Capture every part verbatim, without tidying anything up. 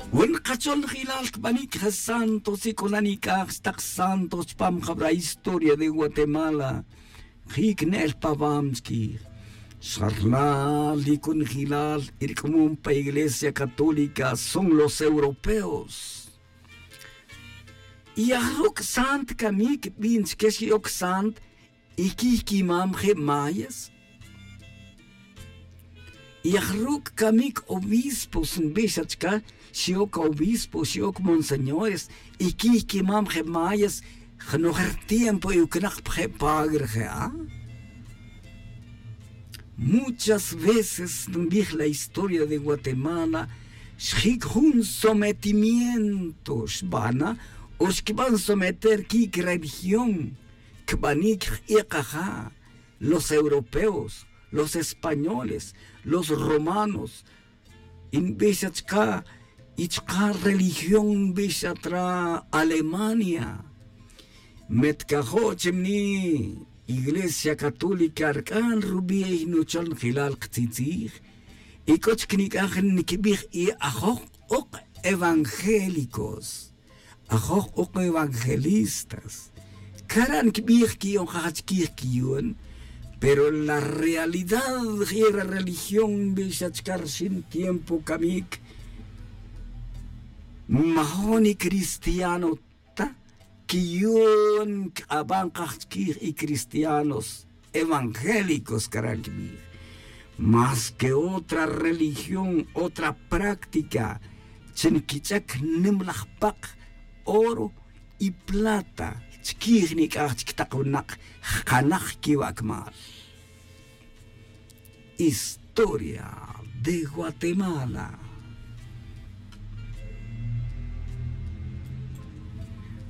Wen kachol njilal kbanic je santos y c'o na nic'aj xtak santos chpam jabra historia de guatemala. Jic ne'el pawam chquij. Xarlal y c'o njilal irc'amom pa iglesia católica son los europeos. Y ajuc' sant camic bin chique xioc sant y quij quimam je mayas. Y aj ruc' camic obispos nbix xa chca xioc obispos xioc monseñores y quij quimam je mayas. Jnoj rtiempo y ucnak pa je padre je a. Muchas veces nbij la historia de guatemala xjic jun sometimiento xbana o xquiban someter quic religión. Cbanic j'ekaja los europeos, los españoles, los romanos. Y nbix xa chca y chka religión nbix xa tra alemania. Metcajo' chimni iglesia católica rc'an rubiey nuchol njilal ktzitzij. Y c'o chic nic'aj nquibij y ajoj k'uk evangélicos, ajoj k'uk evangelistas. Cara' nquibij quiyonjaj chiquij quiyun. Pero la realidad jira religión nbix xa chca rxin tiempo camic majo ni cristiano ta. Quiyun caba nkaj chiquij y cristianos evangélicos cara' nquibij. Mas que otra religión otra práctica chi nquich'ac nimlaj pak oro y plata chiquij nic'aj chic tak winak jkanak quiwac'mal. Historia de guatemala.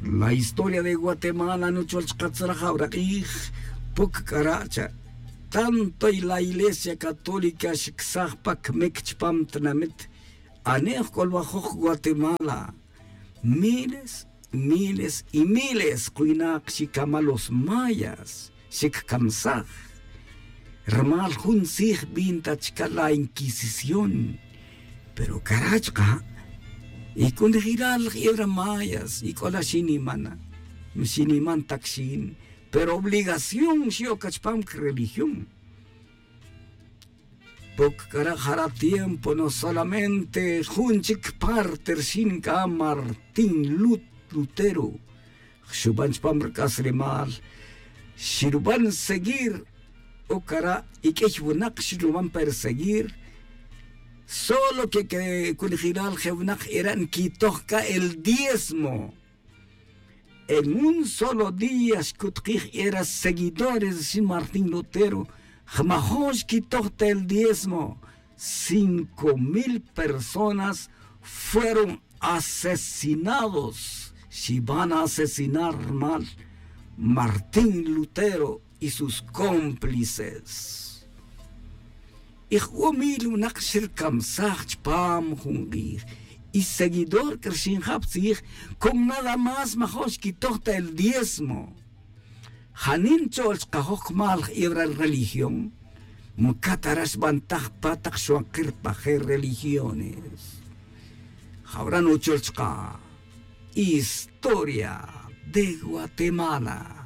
La historia de guatemala nuchol chkatzalaj awrak'ij. Puc c'ara' cha tanto y la iglesia católica xicsaj pa cmic chpam tinamit. Ane'j c'olwajoj guatemala miles miles y miles kwinak xicama los mayas. Xickamsaj rumal jun tzij bin ta chica la inquisición. Pero cara' chka' y c'o nijilal jebra mayas y c'o la xinimana. Xiniman tac xin pero obligación xioc chpam creligión. Poc c'ara' jara tiempo no solamente jun chic parte rxin c'a martín lutero xuban chpam rc'aslemal xiruban seguir. O cara' y q'uiy winak xiruban perseguir. Solo que que cunijilal je winak era nquitoj c'a el diezmo. En un solo día xcutkij era seguidores rxin martín lutero. Jmajon xquitoj ta el diezmo cinco mil personas fueron asesinados. Xiban asesinar rumal martín lutero y sus cómplices. Y jun mil winak xircamsaj chpam jun k'ij. Y seguidor c'a rxin jab tzij con nada más majon xquitoj ta el diezmo. Janin cho'l chkajoj cmal jebra religión. Mcat ara xbantaj pa tak xwakir pa je religiones. Jawra nuchol chka historia de guatemala.